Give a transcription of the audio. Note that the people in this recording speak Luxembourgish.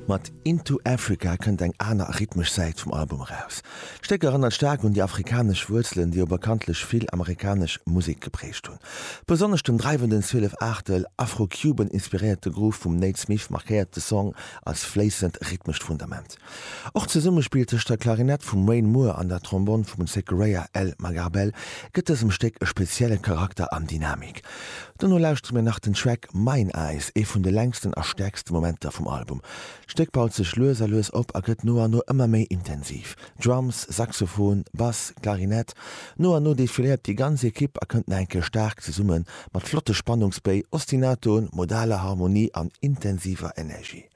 Mat Into Africa kënnt eng aner rhythmesch Säit vum Album eraus. D'Stéck erënnert staark un déi afrikanesch Wuerzelen, déi jo bekanntlech vill amerikanesch Musek geprägt hunn. Besonnesch den dreiwenden 12 Aachtel, Afro-Cuban inspiréierte Groove vum Nate Smith markéiert de Song als fléissend rhythmescht Fundament. Och d'Zesummespill tëscht der Klarinett vum Wayne Moore an der Trombonn vum Zechariah L. Magarbel gëtt dësem Stéck e spezielle Charakter an Dynamik. Dono lauschtere mir nach den Track Mine Eyes, ee vun de längsten a stäerkste Momenter vum Album. D'Stéck baut sech lues a lues op a gëtt no an no ëmmer méi intensiv. Drums, Saxophon, Bass, Klarinett, no an no defiléiert déi ganz Ekipp a kënnt nach eng Kéier staark zesumme mat flotte Spannungsbéi, Ostinatoen, modaler Harmonie an intensiver Energie.